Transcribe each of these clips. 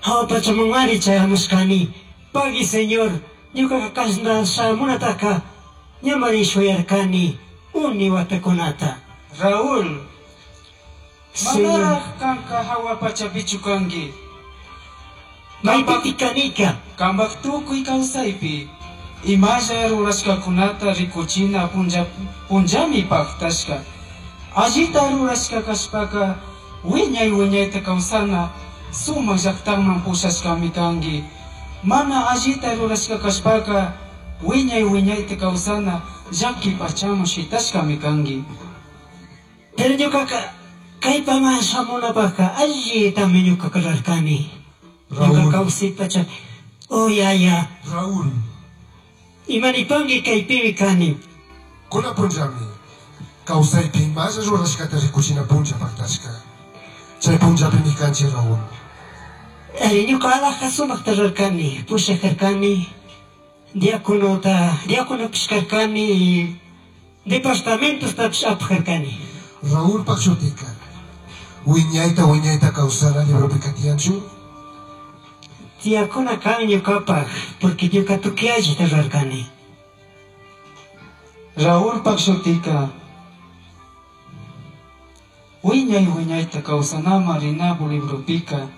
Jahua pachamanmari chayamushcani. Pagui Señor, ñucaca cashna shamunataca ñamari shuyarcani uni huatacunata. Raúl, Señor, manaraj kanka jahua pachapichu kanki. maypitik kanika? Kampak tukuy kawsaypi imalla rurashkakunata rikuchina punlla punllami paktashka. Allita rurashka kashpaka wiñay wiñayta kawsana sumak llaktaman pushashkami kanki. Mana allita rurashka kashpaka wiñay wiñayta kawsana llaki pachaman shitashkami kanki. Pero ñucaca kaypaman shamunapakka allitami ñucaca rurarkani. Ñuka Raúl. kawsay pacha. Oh yaya, Raúl, imanipanki kaypimi kani. Kunan punllami kawsaypi imalla rurashkata rikuchina punlla paktashka. Chay punllapimi kanchik Raúl. Ari, ñuka alaja sumakta rurarkani, pushak karkani, diaconota, diaconopish karkani, y departamentostapish apak karkani. Raúlpak shutika wiñayta wiñayta kawsana libropika tiyanchu? Tiyakuna kan ñukapak, porque ñuka tukuy allita rurarkani. Raúlpak shutika wiñay wiñayta kawsanaman rinapu libropika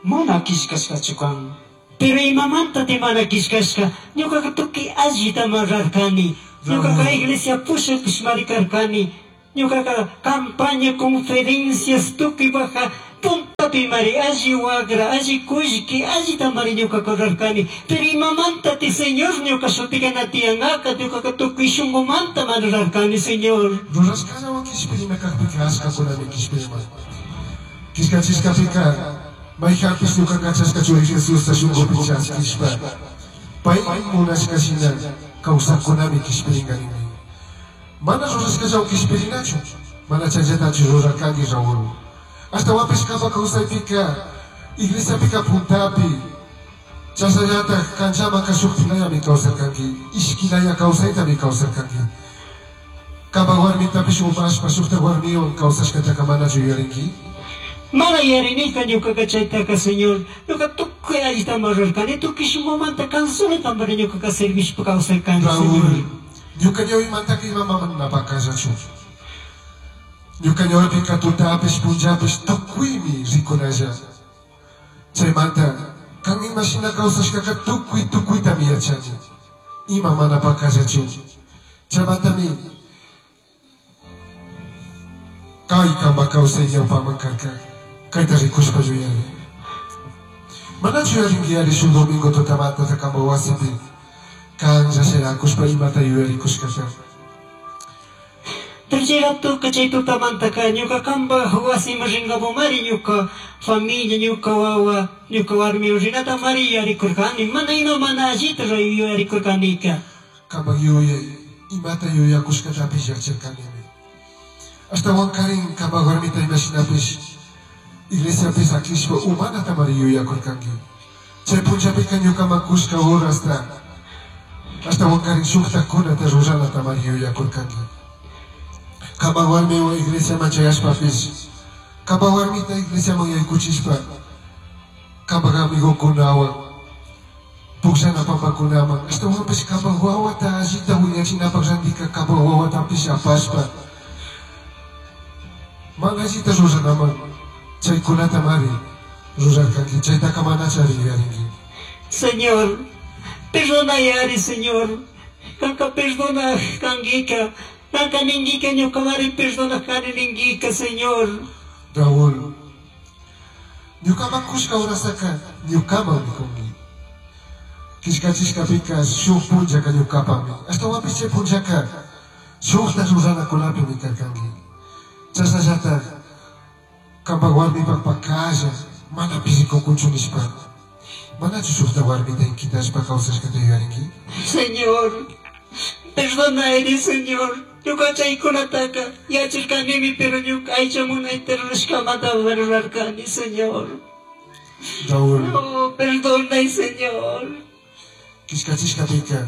mana killkashkachu kan. Pero imamanta mana killkashka, ñukaqa tukuy allitama rurarkani. Ñukaqa Raúl. iglesia pushakpishmari karkani. Ñukaqa campaña, conferencias, tukuy baja puntapimari alli wagra, alli kullki, allitamari ñukaqa rurarkani. Pero imamanta ti Señor ñuka shutika na tiyanaka, ñukaqa tukuy shunqumanta mana rurarkani, Señor. Rurashkallawan kishpirina kakpika ashkakunami kishpirima. Killkachishkapika mayjanpish ñuka kachashka churi Jesusta shunkupi chaskishpa pay munashka shina kawsakkunami kishpirinka ninmi. Mana rurashkallawan kishpirinachu, mana chayllatachu rurarkanki Raúl. Ashtawanpish kampak kawsaypika iglesiapika puntapi chashnallatak kanchamanka shuktilayami kawsarkanki, ishkilaya kawsaytami kawsarkanki. Kampak warmitapish umashpa shukta warmiwan kawsashkataka manachu yuyarinki? Mana yarinika ñukaqa chaytaka, Señor. Ñuka tukuy allitama rurarkani, tukuy shunqumanta kansunatamari ñukaqa servishpa kawsarkani, Raúl, Señor. ñuka ñawimantaka ima mana pakallachu. Ñuka ñawipika tutapish punllapish tukuymi rikunalla. Chaymanta kan imashina kawsashkaka tukuy tukuytami yachani. Ima mana pakallachu. Chaymantami kay kampak kawsay ñawpaman karka. Kayta rikushpa yuyari. Manachu yuyarinki ari shuk domingo tutamantata kampak wasipi kanlla shayrakushpa imata yuyarikushkata. Pero chay ratoka chay tutamantaka ñuka kampak wasiman rinkapumari ñuka familia, ñuka wawa, ñuka warmiwan rinatamari yuyarikurkani. Mana ima mana allita yuyarikurkanika. Kampak yuyay imata yuyakushkatapish yacharkanimi. Ashtawankarin kampak warmita imashinapish iglesiapi sakishpa umanatamari yuyakurkanki. Chay punllapika ñukaman kushka horasta ashtawankarin shuktakunata ruranatamari yuyakurkanki. Kampak warmiwan iglesiaman chayashpapish kampak warmita iglesiaman yaykuchishpa kampak amigokunawan pukllana pampakunaman ashtawanpish kampak wawata allita wiñachinapak randika kampak wawatapish apashpa mana allita ruranaman chaykunatamari rurarkanki, chaytaka manachari yuyarinki. Señor, perdonayari, Señor. Kanka perdona kankika. Kanka ninkika ñukamari perdona kani ninkika, Señor. Raúl, ñukaman kushka horastaka ñukaman nikunki. Killkachishkapika shuk punllaka ñukapami. Ashtawanpish chay punllaka shukta ruranakunapimi karkanki. Chashnallatak kampak warmipak pakalla mana rikukunchu nishpa. Manachu shukta warmita inkitashpa kawsashkata yuyarinki? Señor, perdonayri, Señor. Ñuka chaykunataka yacharkanimi, pero ñuka aycha munayta rurashkamanta rurarkani, Señor. Raúl, No, perdonay, Señor. Killkachishkapika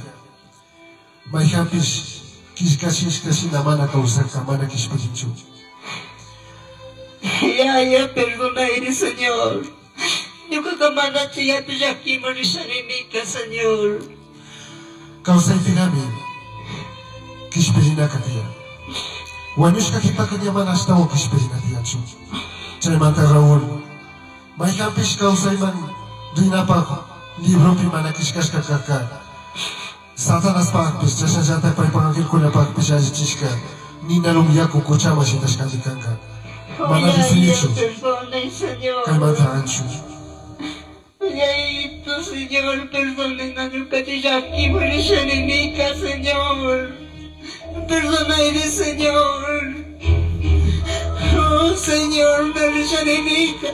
mayjanpish killkachishka shina mana kawsarka, mana kishpirinchu. Yaya, perdonayri, Señor. Ñukaqa manachu yatu llakiman risharinika, Señor. Kawsaypirami kishpirinaka tiyan. Wañushka qhipaka ña mana ashtawan kishpirina tiyanchu. Chaymanta Raúl, mayqanpish kawsayman rinapaq libropi mana killkashka karka. Satanaspaqpis chashnallataq paypaq angelkunapaqpis allichishka ninarun yaku quchaman shitashkami kanka. Mana Yaya, rishinichu perdona, Señor. kaymanta anchu. Yayito, Señor, perdona, ñukachu llakiman risharinika, Señor. Perdonayri, Señor. Oh, Señor, me risharenika.